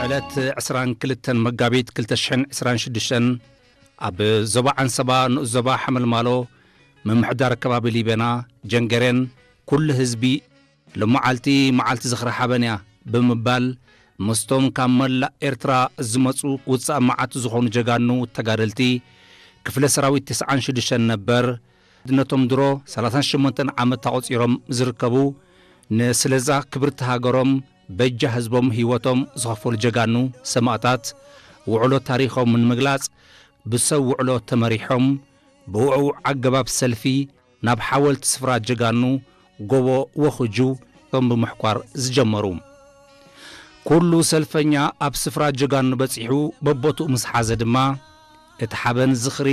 ዕለት ዕስራን ክልተን መጋቢት ክልተ ሽሕን ዕስራን ሽዱሽተን ኣብ ዞባ ዓንሰባ ንኡስ ዞባ ሓመልማሎ ምምሕዳር ከባቢ ሊበና ጀንገሬን ኩሉ ህዝቢ፣ "ሎመዓልቲ መዓልቲ ዝኽሪ ሓበን እያ" ብምባል ምስቶም ካብ መላእ ኤርትራ ዝመጹ ውጻእ መዓት ዝኾኑ ጀጋኑ ተጋደልቲ ክፍለ ሰራዊት ተስዓን ሽዱሽተን ነበር ነቶም ድሮ ሰላሳን ሸሞንተን ዓመት ኣቖጺሮም ዝርከቡ ንስለዛ ክብርቲ ሃገሮም በጃ ህዝቦም ህይወቶም ዝኸፈሉ ጀጋኑ ሰማእታት ውዕሎ ታሪኾም ንምግላጽ ብሰብ ውዕሎ ተመሪሖም ብውዕውዕ ኣገባብ ሰልፊ ናብ ሓወልቲ ስፍራ ጀጋኑ ጎቦ ወኹጁ እቶም ብምሕኳር ዝጀመሩ። ኩሉ ሰልፈኛ ኣብ ስፍራ ጀጋኑ በጺሑ በቦትኡ ምስ ሓዘ ድማ እቲ ሓበን ዝኽሪ